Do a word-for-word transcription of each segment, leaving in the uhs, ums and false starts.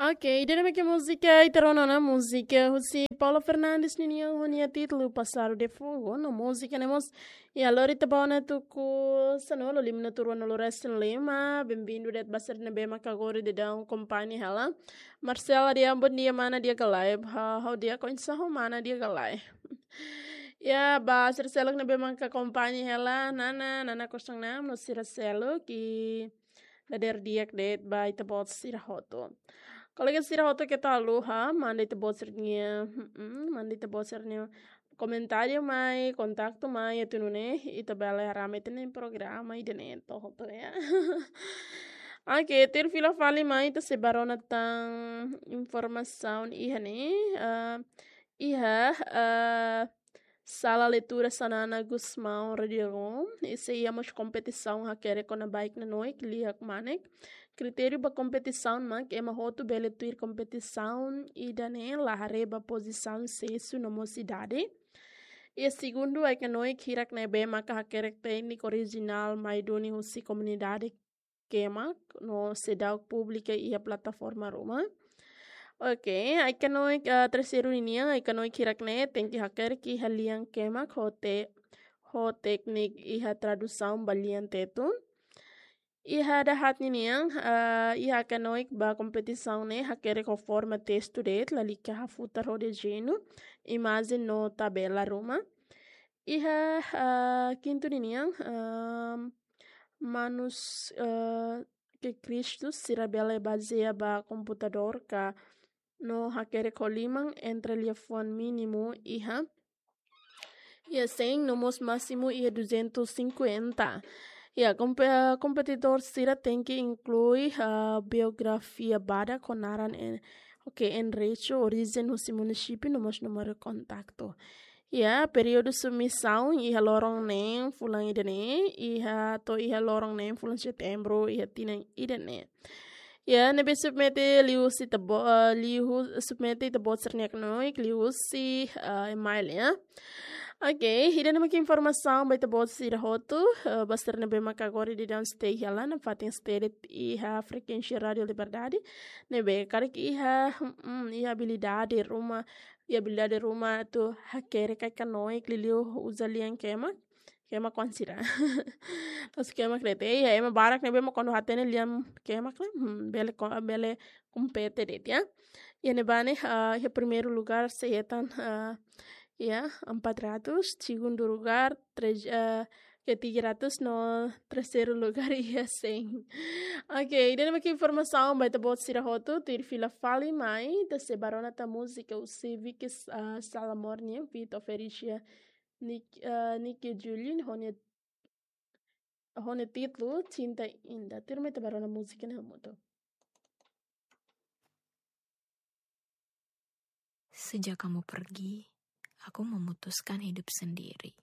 Ok, ida-ne'e mak múzika ita rona ona, múzika husi Paulo Fernandes ninian ho nia títulu Passado de Fogo, no múzika ne'e mós iha lori ita ba ona tuku sanulu, lima minutu ruanulu resin lima. Bem-vindo de'it ba sira ne'ebé maka agora daudaun akompaña hela. Marcela di'ak, bom dia mana di'ak ka lae. Ha, ha'u di'ak, oinsá ho mana di'ak ka lae. Ya, ba sira seluk ne'ebé maka akompaña hela, Nana, Nana kosong enam, no sira seluk, i dadeer di'ak de'it ba ita-boot sira hotu. Kolega sira hotu keta haluha manda ita-boot sira-nia, mm, manda ita-boot sira-nia komentáriu mai, kontaktu mai, atu nune'e ita bele haree ita-nia programa ida-ne'e to'o hotu ya. Ok, tuir fila fali mai ita sei bá rona tan informasaun iha ne'e, ah, iha, ah, Sala Leitura Xanana Gusmão Radiagon, i sei iha mós kompetisaun hakerek kona-ba ai-kneuk liu hakmanek. Kritériu ba kompetisaun mak ema hotu bele tuir kompetisaun ida-ne'e la haree ba pozisaun, sessu no mós idade. I segundu, ai-kneuk hirak ne'ebé maka hakerek tékniku orijinál mai duni husi komunidade kemak no seidauk publika iha plataforma ruma. Ok, ai-kneuk, ah, terseiru ninian, ai-kneuk hirak ne'e tenke hakerek iha lian kemak ho te-, ho tékniku iha tradusaun ba lian Tetun. Iha dahaat ninian, ah, iha ai-kneuk ba kompetisaun ne'e hakerek ho forma testu de'it, lalika hafutar ho dezeñu, imajen no tabela ruma. Iha, ah, kintu ninian, ah, manuskriptu sira bele bazeia ba komputadór ka no hakerek ho liman entre liafuan mínimu iha, iha cem no mós másimu iha duzentos e cinquenta. Ya, kompe-, kompetidór sira tenke inklui, ah, biografia badak ho naran en-, ok, enderesu, orijen husi munisípiu no mós númeru kontaktu. Ya, períodu submisaun iha loron neen fulan ida-ne'e, iha to'o iha loron neen fulan Setembru iha tinan ida-ne'e. Ya, ne'ebé submete liuhusi ita-bo-, eh, liuhu-, submete ita-boot sira-nia ai-kneuk liuhusi, eh, email ya. Ok, ida-ne'e mak informasaun ba ita-boot sira hotu, eh, ba sira ne'ebé maka agora daudaun stay hela, nafatin stay de'it iha frekuénsia Rádio Liberdade. Ne'ebé karik iha, mm, iha abilidade ruma, iha abilidade ruma atu hakerek ai-kneuk liuliu uza lian kemak, kemak kuandu sira. Terus kemak de'it, ya, ema barak ne'ebé mak kuandu hatene lian kemak ne'e, hmm, bele ko-, bele kompete de'it ya. Ya, ne'ebá ne'e, ah, iha primeiru lugar sei hetan, ah, ya, empat ratus, segundu lugar, tres, ah, ke tiga ratus no terseiru lugar iha cem. Ok, ida-ne'e mak informasaun ba ita-boot sira hotu, tuir fila fali mai, ita sei bá rona tan múzika husi Vicky, ah, Salamor nian, feat Oferisia, Nick, ah, Nicky Julien, ho nia, ho nia títulu Cinta Indah. Tuirmai ita bá rona múzika ne'e hamutuk. Sejak kamu pergi, aku memutuskan hidup sendiri.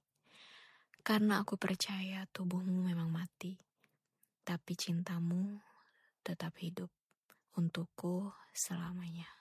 Karena aku percaya tubuhmu memang mati, tapi cintamu tetap hidup untukku selamanya.